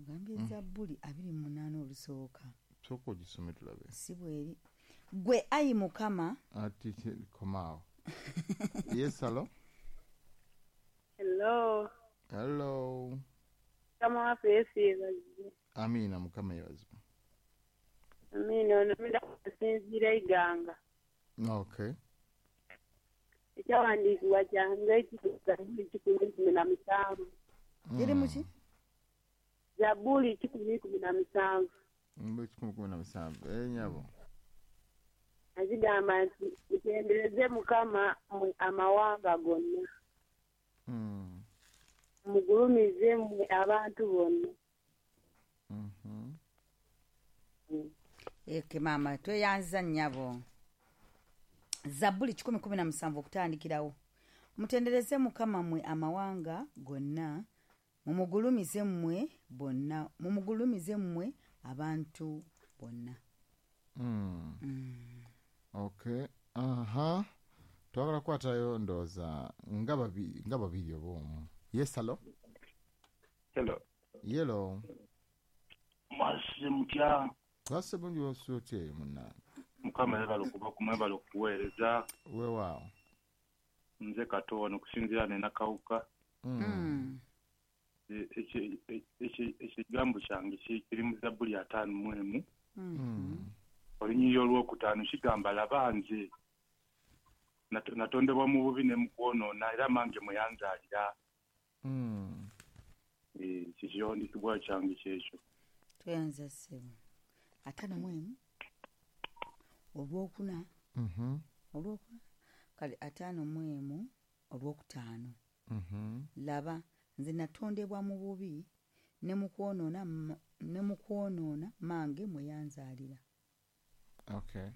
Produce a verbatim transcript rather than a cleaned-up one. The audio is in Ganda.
Ogambye Zabbuli abiri mu munaana olusooka. Sooka ogisome tulabe. Si bweri. Gwe ayi Mukama. Ati komaawo. Yes, hello. Hello. Hello. Mukama waffe Yesu yeebazibwe. Amiina, Mukama yeebazibwe. Amiina, ono mida kusinziira Iganga. Okay. Ekyawandiikibwa kyange kiri kikumi kumi na musanvu. Kiri mu ki? Zabbuli kikumi kumi na musanvu. Kikumi kumi na musanvu. Eh, nnyabo. Azigamba nti mutendereze Mukama mmwe amawanga gonna. Mm. Mugulumize mmwe abantu bonna. Mhm. Mm. Eke maama tweyanza nnyabo. Zabbuli kikumi kumi na musanvu okutandikirawo. Mutendereze Mukama mmwe amawanga gonna, mumugulumize mmwe bonna, mumugulumize mmwe abantu bonna. Mm. Mm. Okay. Aha. Twagala kukwatayo ndowooza nga babiri nga babiri oba omu. Yes, hello. Hello. Yellow. Mwasuze mutya? Twasuze bulungi, wasuze otya eyo munnange? Mukama yeebale okuba kumwebale okuweereza. Weewaawo. Nze Kato wano okusinziira ne Nakawuka. Mm. Ekigambo kyange kiri mu Zabbuli ataano mu emu. Mm. Olunyiriri olwokutaano kigamba laba nze natondebwa mu bubi ne mu kwonoona era mange mwe yanzaalira. Mm. Ekiwandiikibwa kyange kyekyo. Tweyanza ssebo. Ataano mu emu olwokuna. Mhm. Olwokuna. Kale ataano mu emu olwokutaano. Mhm. Laba nze natondebwa mu bubi ne mu kwonoona ne mu kwonoona mange mwe yanzaalira. Okay.